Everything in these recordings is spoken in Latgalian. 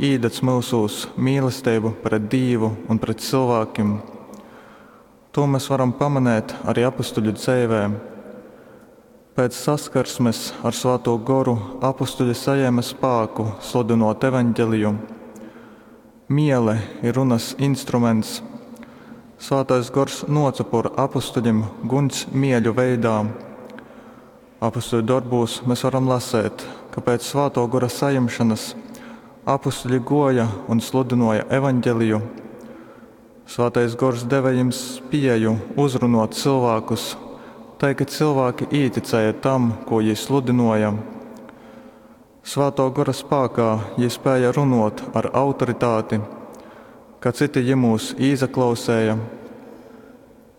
īdedz myusūs mīlesteibu pret Dīvu un pret cylvākim. Tū mes varam pamanēt ari apustuļu dzeivē. Pēc saskarsmes ar Svātū Goru apustuļi sajēme spāku sludynōt Evaņgeliju. Miele ir runas instruments. Svātais Gors nōce pōr apustuļim guņs mieļu veidā. Apustuļu dorbūs mes varam lasēt, ka pēc Svātō Gora sajimšonas apustuļi gōja un sludynōja Evaņgeliju. Svātais Gors deve jim spieju uzrunōt cylvākus, tai ka cylvāki īticēja tam, kū jī sludynōja. Svātō Gora spākā jī spēja runōt ar autoritāti, ka cyti jymūs īsaklausēja.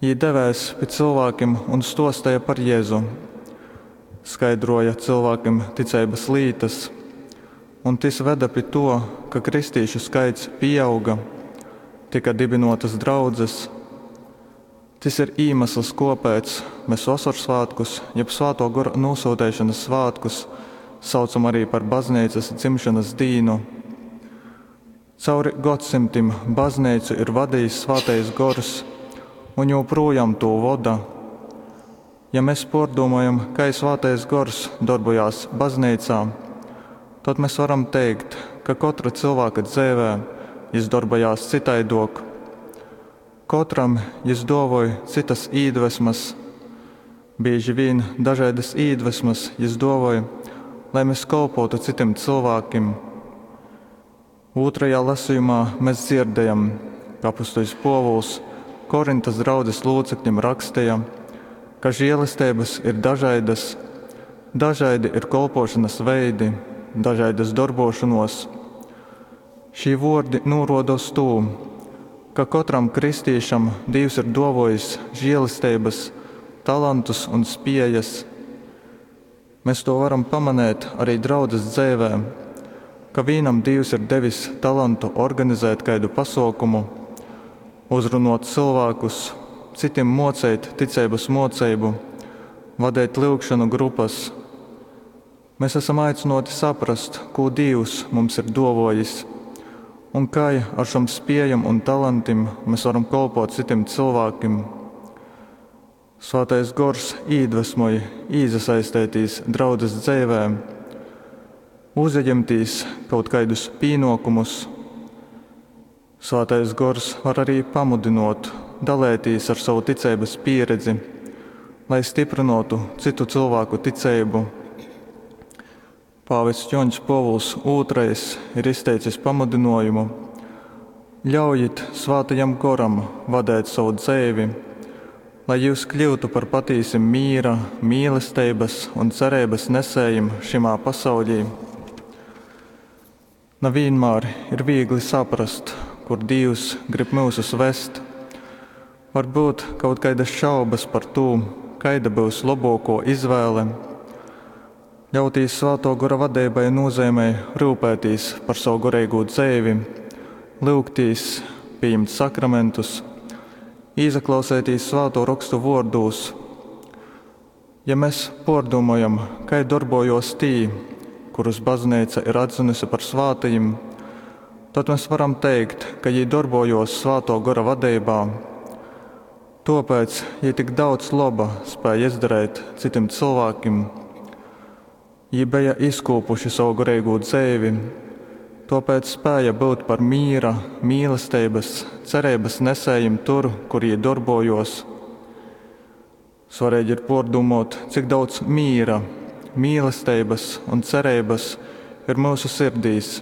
Jī devēs pi cylvākim un stōsteja par Jezu, skaidrōja cylvākim ticeibas lītas, un tys vede pi tuo, ka kristīšu skaits pīauga, tyka dibinōtas draudzes. Tys ir īmesls, kōpēc mes Vosorsvātkus jeb Svātō Gora nūsyuteišonas svātkus saucam arī par Bazneicas dzimšonas dīnu. Cauri godsymtim Bazneicu ir vadejis Svātais Gors un jūprūjom tū voda. Ja mes pōrdūmojam, kai Svātais Gors dorbojās Bazneicā, tod mes varam teikt, ka kotra cylvāka dzeivē jys dorbojās cytaidōk. Kotram jys dōvoj cytas īdvesmas. Bīži vīn dažaidas īdvesmas jys dōvoj, lai mes kolpōtu cytim cylvākim. Ūtrajā lasejumā mes dzierdējam, ka apustuļs Pōvuls Korintas draudzes lūcekļim raksteja, ka žēlesteibas ir dažaidas, dažaidi ir kolpōšanas veidi, dažaidas dorbōšonōs. Šī vōrdi nūrōda uz tū, ka kotram kristīšam Dīvs ir dōvōjis žēlesteibas, talantus un spējas. Mes tū varam pamanēt ari draudzes dzeivē, ka vīnam Dīvs ir devis talantu organizēt kaidu pasōkumu, uzrunōt cylvākus, cytim mōceit ticeibas mōceibu, vadeit lyugšonu grupas. Mes asam aicynōti saprast, kū Dīvs mums ir dōvōjis un kai ar šom spējom un talantim mes varam kolpōt cytim cylvākim. Svātais Gors īdvesmoj īsasaisteitīs draudzes dzeivē, uzajimtīs kaut kaidus pīnōkumus. Svātais Gors var arī pamudynōt daleitīs ar sovu ticeibas pīredzi, lai styprynōtu cytu cylvāku ticeibu. Pāvests Jōņs Pōvuls II ir izteicis pamudynōjumu: Ļaujit Svātajam Goram vadēt sovu dzeivi, lai jyus kļyutu par patīsim mīra, mīlesteibas un cereibas nesējim šymā pasauļī. Na vīnmār ir vīgli saprast, kur Dīvs grib myusus vest. Var byut kaut kaidas šaubas par tū, kaida byus lobōkō izvēle. Ļautīs Svātō Gora vadeibai nūzeimej ryupētīs par savu goreigū dzeivi, lyugtīs, pījimt sakramentus, īsaklausētīs Svātō Rokstu vōrdūs. Ja mes pōrdūmojam, kai dorbōjōs tī, kurus Bazneica ir atzinusi par svātajim, tod mes varam teikt, ka jī dorbōjōs Svātō Gora vadeibā. Tōpēc jī tik daudz loba spēja izdareit cytim cylvākim. Jī beja izkūpuši sovu goreigū dzeivi, tōpēc spēja byut par mīra, mīlesteibas, cereibas nesējim tur, kur jī dorbōjōs. Svareigi ir pōrdūmōt, cik daudz mīra, mīlesteibas un cereibas ir myusu sirdīs.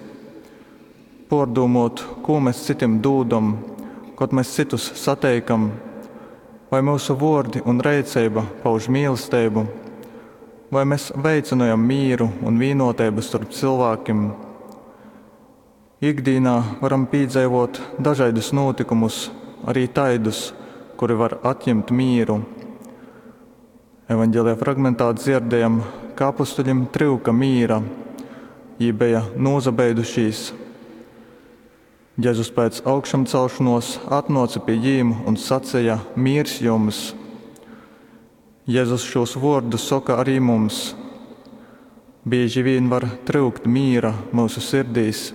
Pōrdūmōt, kū mes cytim dūdam, kod mes cytus sateikam, vai myusu vōrdi un reiceiba pauž mīlesteibu, vai mes veicynojam mīru un vīnōteibu storp cylvākim. Ikdīnā varam pīdzeivōt dažaidus nūtykumus, arī taidus, kuri var atjimt mīru. Evaņgelija fragmentā dzierdējam, ka apustuļim tryuka mīra, jī beja nūsabeidušīs. Jezus pēc augšamcelšanos atnōca pi jīm un saceja: Mīrs jums! Jezus šūs vōrdus soka arī mums. Bīži vīn var tryukt mīra myusu sirdīs.